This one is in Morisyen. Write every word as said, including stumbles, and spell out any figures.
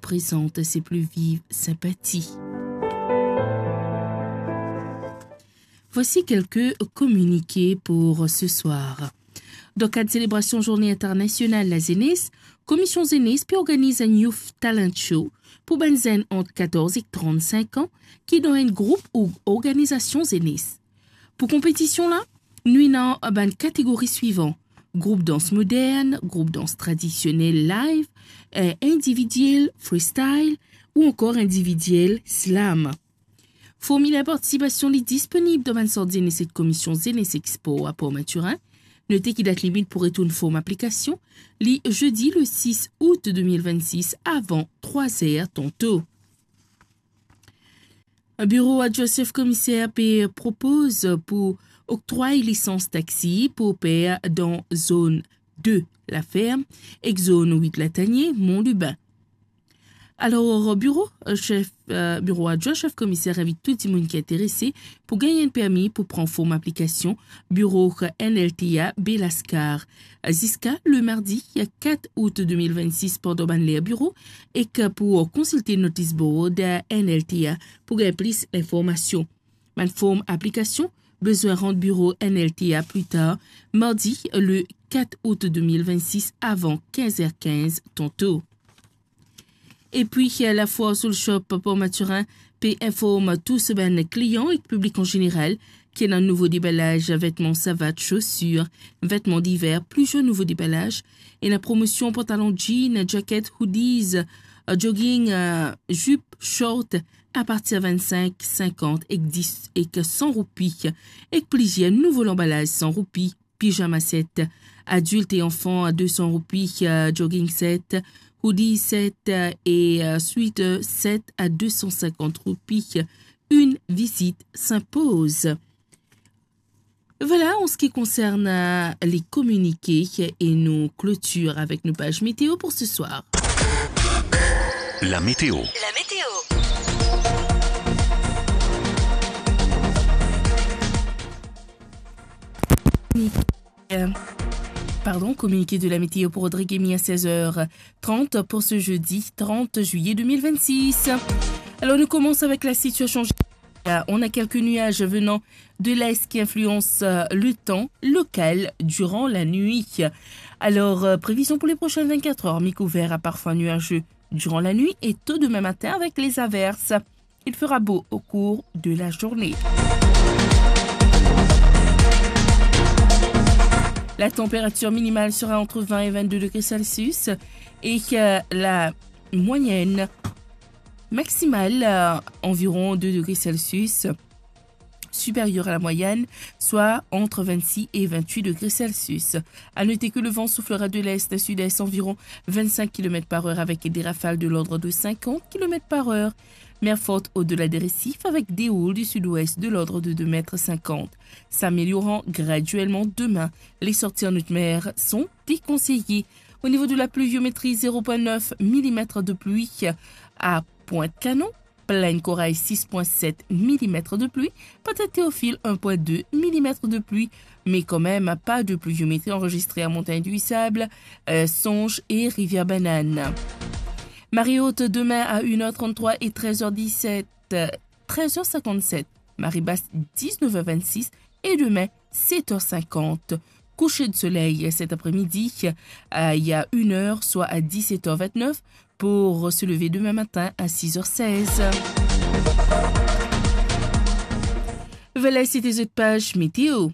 présente ses plus vives sympathies. Voici quelques communiqués pour ce soir. Dan kad selebrasion Zourne Internasional Lazenes, Komisyon Zenes pe organiz enn Youth Talent Show pou bann zenn ant katorz ek trant-sink an ki dan enn group ou organizasion zenes. Pou konpetision la, nou ena bann kategori swivan: group dans modern, group dans tradisionel live, eh, individiel freestyle ou ankor individiel slam. Formiler partisipasion li disponib dan bann sant zenes ek Komisyon Zenes ek Spor a Port Mathurin. Note ki dat limit pou retourn form aplikasion li zedi le sis out de mil vennsis avan trwa zer tanto. Biro adwin sef komiser pe propoz pou oktrway lisans taxi pou oper dan zone de Laferm ek zone wit Latanie, Mont Lubin. Alor, biro, eh, sef, eh, biro adwin sef komiser invit tou dimoun ki interese pou gagn enn permi pou pran form aplikasion biro N L T A Baie Lascar ziska le mardi kat out de mil vennsis pandan bann ler biro ek pou konsilte notis board N L T A pou gagn plis linformasion. Bann form aplikasion bizin rant biro N L T A pli tar mardi le kat out de mil vennsis avan kinz er kinz tanto. Epi, eh, Lafoire Soul Shop Port Mathurin pe inform tou so bann klian ek piblik an zeneral ki ena nouvo debalaz vetman savat, sosir, vetman diver, plizier nouvo debalaz. Ena promosion pantalon jean, jacket, hoodies, eh, jogging, eh, zip, short, apartir vennsenk, sinkant ek dis ek san roupi, ek plizier nouvo lanbalaz san roupi, pizama set adilt e anfan a de san roupi, eh, jogging set, hoodie set, eh, e, eh, sweater set a de san sinkant roupi. Une visite s'impose. Voilà, en ce qui concerne, euh, les communiqués, et nous clôturons avec nos pages météo pour ce soir. La météo. La météo. Euh, pardon, communiqué de la météo pour Rodrigue Emy à seize heures trente pour ce jeudi trente juillet deux mille vingt-six. Alors, nous commençons avec la situation générale. Euh, on a quelques nuages venant de l'est qui influencent, euh, le temps local durant la nuit. Alors, euh, prévision pour les prochaines vingt-quatre heures, mi-couvert à parfois nuageux durant la nuit et tôt demain matin avec les averses. Il fera beau au cours de la journée. La température minimale sera entre vingt et vingt-deux degrés Celsius et, euh, la moyenne maximale, euh, environ deux degrés Celsius, supérieure à la moyenne, soit entre vingt-six et vingt-huit degrés Celsius. À noter que le vent soufflera de l'est à sud-est environ vingt-cinq kilomètres par heure avec des rafales de l'ordre de cinquante kilomètres par heure. Mer forte au-delà des récifs avec des houles du sud-ouest de l'ordre de deux mètres cinquante. S'améliorant graduellement demain, les sorties en haute mer sont déconseillées. Au niveau de la pluviométrie, zéro point neuf millimètres de pluie à Pointe-Canon, Plaine Corail, six point sept millimètres de pluie, Pointe-Théophile, un point deux millimètres de pluie, mais quand même pas de pluviométrie enregistrée à Montagne du Sable, euh, Songe et Rivière-Banane. Marée haute demain à une heure trente-trois et treize heures dix-sept, euh, treize heures cinquante-sept. Marée basse, dix-neuf heures vingt-six, et demain, sept heures cinquante. Coucher de soleil cet après-midi, euh, il y a une heure, soit à dix-sept heures vingt-neuf, pour se lever demain matin à six heures seize. Voilà, c'était zot page météo.